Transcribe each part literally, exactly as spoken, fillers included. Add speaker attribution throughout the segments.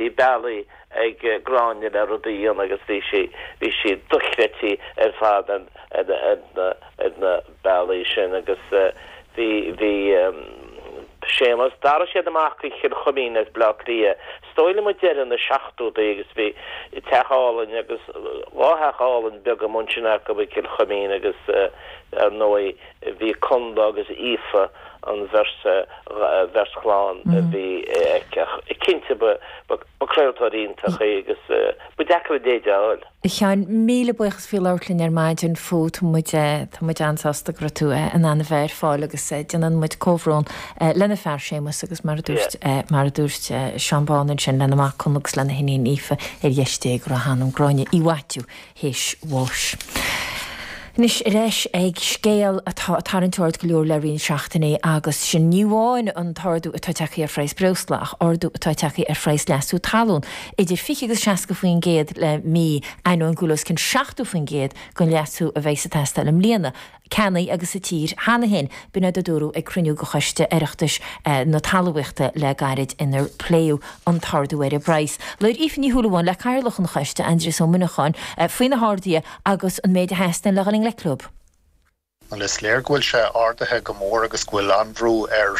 Speaker 1: Bhí bealaí ag Gráinne le rudaí a dhéanamh agus bhí sí bhí sí dochreidte ar fad an ar na bealaí sin agus bhí bhí Séamus d'athraigh siad amach go Cill Chuimín as Bleá Cliath. Is dóigh liom deireadh na seachtóidí agus bhí teach álainn agus dhá theach álainn beaga ansin acu i Cill Chuimín agus ar ndóigh bhí Conla agus Aoife an bheirt bheirt chlann a bhí aici. Cinnte ba ba craoltóir iontach í agus ba deacair a leithéid a fháil.
Speaker 2: A Sheáin, míle buíochas faoi labhairt linn ar maidin fút tá muid tá muid an-sásta go raibh tú in ann a bheith ar fáil agus déanann muid comhbhrón lena fear Séamus agus mar a dúirt mar a dúirt Seán Bán ansin lena mac Conla agus lena hiníon Aoife ar dheis Dé go raibh a hanam Gráinne Uí Mhaitiú théis bháis. Anois ar ais ag scéal atá ag tarraingt aird go leor le roinnt seachtainí agus sin ní amháin an t-ardú atá tagtha ar phraghas breosla ach ardú atá tagtha ar phraghas leasú talún idir fiche agus seasca faoin gcéad le mí ainneoin go bhfuil os cionn seachtó faoin gcéad den leasú a bheidh ag teastáil i mbliana ceannaithe acu sa tír cheana féin b'in a dúradh ag cruinniú de choiste Oireachtais na talmhaíochta le gairid inar pléadh an t-ardú ar an bpraghas. Labhair Aoife Ní Shúilleabháin le cathaoirleach an choiste Aindrias Ó Muineacháin faoi na harduithe agus an méid a theastaíonn le dhul i ngleic leo.
Speaker 3: Well is léir go bhfuil sé ardaithe go mór agus go bhfuil an-bhrú ar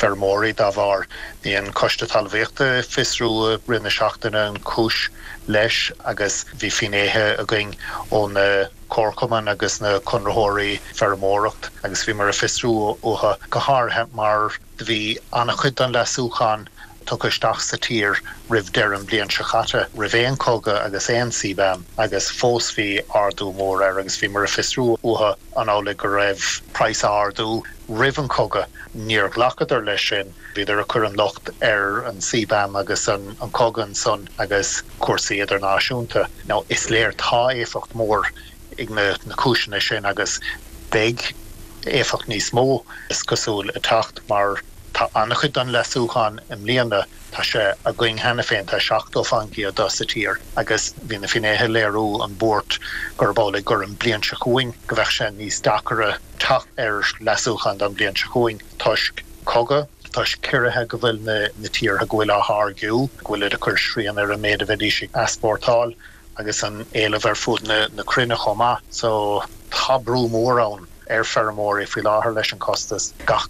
Speaker 3: feirmeoirí dá bharr. Bhí an coiste talmhaíochta ag fiosrú i rith na seachtaine an chúis leis agus bhí finnéithe againn ó na comharchumainn agus na conraitheoirí feirmeoireacht agus bhíomar ag fiosrú uathu go háirithe mar bhí an-chuid den leasúchán tugtha isteach sa tír roimh deireadh an bhliain seo caite roimh aon chogadh agus aon CBAM agus fós bhí ardú mór air agus bhíomar ag fiosrú uathu an amhlaidh go raibh praghas ardú roimh an cogadh níor ghlacadar leis sin bhíodar ag cur an locht ar an CBAM agus an an cogadh ansan agus cúrsaí idirnáisiúnta. Now is léir tá éifeacht mór ag na na cúiseanna sin agus beidh éifeacht níos mó is cosúil ag teacht mar tá an-chuid den leasúchán i mbliana tá sé againn cheana féin tá seachtó faoin gcéad de sa tír agus bhí na finnéithe ag léiriú an bhuairt gurb amhlaidh gur an bliain seo chugainn go bheadh sé níos deacra teacht ar leasúchán don bliain seo chugainn toisc cogadh toisc ciorruithe go bhfuil na na tíortha go bhfuil á tháirgiú go bhfuil ag cur srian ar an méid a bheidís ag easpórtáil agus an éileamh ar fud na na cruinne chomh maith so tá brú mór ann ar feirmeoirí faoi láthair leis an costas gach